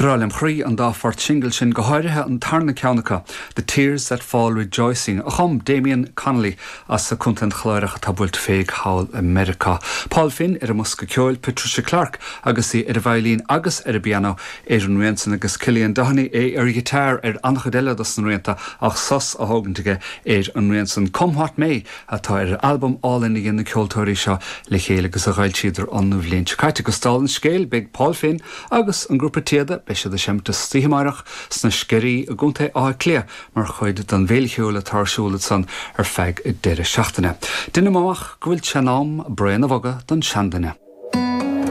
Breá lem chroí an dá phort singil sin, go háirithe an tarna ceann acu, The Tears That Fall Rejoicing, a chum Damien Connolly as Contae an Chláir ach atá buailte féig thall i Meiriceá. Paul Finn ar an mbosca ceoil, Patricia Clarke agus í ar an veidhlín agus ar an bpianó, Aidan Riansan agus Cillian Doheny, é ar ghiotár ar an-chuid eile dos na rianta ach sos á thógaint aige ar an rian san Come What May atá ar an albam álainn a dhein na ceoltóirí seo le chéile agus a dh'fhoilsíodar an bhliain seo caite. Agus dála an scéil beidh Paul Finn agus an grúpa Téada, beidh siad ag seimint istoíche amáireach sna Sceirí i gContae Átha Cliath mar chuid den bhféile cheoil atá ar siúl ansan ar feadh deireadh seachtaine. Deinim amach go bhfuil sé in am braon a bhogadh don seanduine.